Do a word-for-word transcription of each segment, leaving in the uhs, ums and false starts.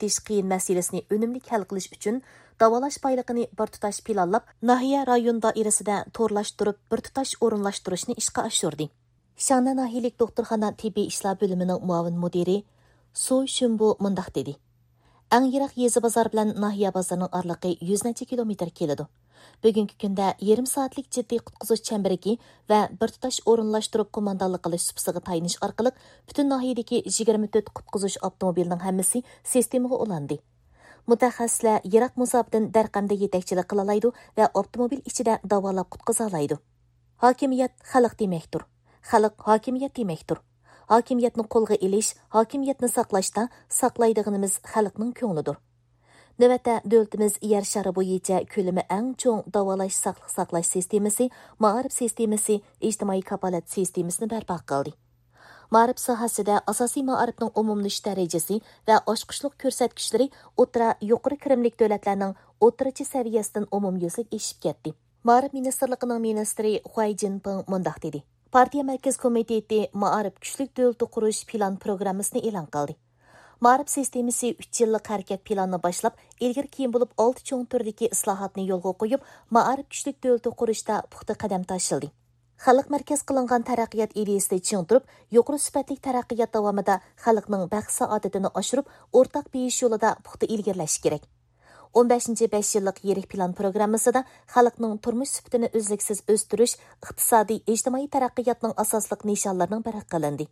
ئېتىش قىيىن مەسىلىسىنى ئۈنۈملۈك ھەل قىلىش ئۈچۈن، داۋالاش بايلىقىنى بىر تۇتاش پىلانلاپ، ناھىيە، رايون دائىرىسىدە تورلاشتۇرۇپ، بىر تۇتاش ئورۇنلاشتۇرۇشنى ئىشقا ئاشۇردى. شاڭنە ناھىيەلىك دوختۇرخانا تېببىي ئىشلار بۆلۈمىنىڭ مۇئاۋىن مۇدىرى سۇ شۈنبۇ مۇنداق دېدى: ئەڭ يىراق يېزا بازار بىلەن ناھىيە بازىرىنىڭ ئارىلىقى يۈز نەچچە كىلومېتىر كېلىدۇ. بۈگۈنكى كۈندە يېرىم سائەتلىك جىددىي قۇتقۇزۇش چەمبىرىكى ۋە بىر تۇتاش ئورۇنلاشتۇرۇپ قوماندانلىق قىلىش سۇپىسىغا تايىنىش ئارقىلىق، پۈتۈن ناھىيەدىكى يىگىرمە تۆت قۇتقۇزۇش ئاپتوموبىلىنىڭ ھەممىسى سىستېمىغا ئۇلاندى. مۇتەخەسسىسلەر يىراق مۇساپىدىن دەرقەمدە يېتەكچىلىك قىلالايدۇ ۋە ئاپتوموبىل ئىچىدە داۋالاپ قۇتقۇزالايدۇ. ھاكىمىيەت خەلق دېمەكتۇر. خەلق ھاكىمىيەت دېمەكتۇر. ھاكىمىيەتنى قولغا ئېلىش، ھاكىمىيەتنى ساقلاشتا ساقلايدىغىنىمىز خەلقنىڭ كۆڭلىدۇر. نۆۋەتتە، دۆلىتىمىز يەر شارى بويىچە كۆلىمى ئەڭ چوڭ داۋالاش ساقلىق ساقلاش سىستېمىسى، مائارىپ سىستېمىسى، ئىجتىمائىي كاپالەت سىستېمىسىنى بەرپا قىلدى. مائارىپ ساھەسىدە ئاساسىي مائارىپنىڭ ئومۇملىشىش دەرىجىسى ۋە ئاچقۇچلۇق كۆرسەتكۈچلىرى ئوتتۇرا، يۇقىرى كىرىملىك دۆلەتلەرنىڭ ئوتتۇرىچە سەۋىيەسىدىن ئومۇميۈزلۈك ئېشىپ كەتتى. مائارىپ مىنىستىرلىقىنىڭ مىنىستىرى خۇەي جىنپىڭ مۇنداق دېدى: پارتىيە مەركىزىي كومىتېتى مائارىپ كۈچلۈك دۆلىتى قۇرۇش پىلان پروگراممىسىنى ئېلان قىلدى. مائارىپ سىستېمىسى ئۈچ يىللىق ھەرىكەت پىلانىنى باشلاپ، ئىلگىرى كېيىن بولۇپ ئالتە چوڭ تۈردىكى ئىسلاھاتنى يولغا قويۇپ، مائارىپ كۈچلۈك دۆلىتى قۇرۇشتا پۇختا قەدەم تاشلىدى. خەلق مەركەز قىلىنغان تەرەققىيات ئىدىيىسىنى چىڭ تۇرۇپ، يۇقىرى سۈپەتلىك تەرەققىيات داۋامىدا خەلقنىڭ بەخت سائادىتىنى ئاشۇرۇپ، ئورتاق بېيىش يولىدا پۇختا ئىلگىرىلەش كېرەك. ئون بەشىنچى بەش يىللىق يىرىك پىلان پروگراممىسىدا خەلقنىڭ تۇرمۇش سۈپىتىنى ئۈزلۈكسىز ئۆستۈرۈش ئىقتىسادىي، ئىجتىمائىي تەرەققىياتنىڭ ئاساسلىق نىشانلىرىنىڭ بىرى قىلىندى.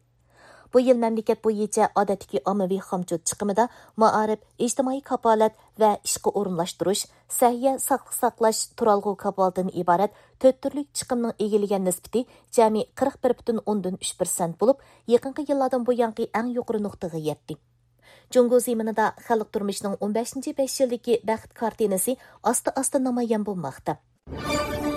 بۇ يىل مەملىكەت بويىچە ئادەتتىكى ئاممىۋى خامچوت چىقىمىدا مائارىپ، ئىجتىمائىي كاپالەت ۋە ئىشقا ئورۇنلاشتۇرۇش، سەھىيە، ساقلىق ساقلاش، تۇرالغۇ كاپالىتىدىن ئىبارەت تۆت تۈرلۈك چىقىمنىڭ ئىگىلىگەن نىسبىتى جەمئىي قىرىق بىر پۈتۈن ئوندىن ئۈچ پىرسەنت بولۇپ، يېقىنقى يىللاردىن بۇيانقى ئەڭ يۇقىرى نۇقتىغا يەتتى. جۇڭگو زېمىنىدا خەلق تۇرمۇشىنىڭ ئون بەشىنچى بەش يىلدىكى بەخت كارتىنىسى ئاستا-ئاستا نامايان بولماقتا.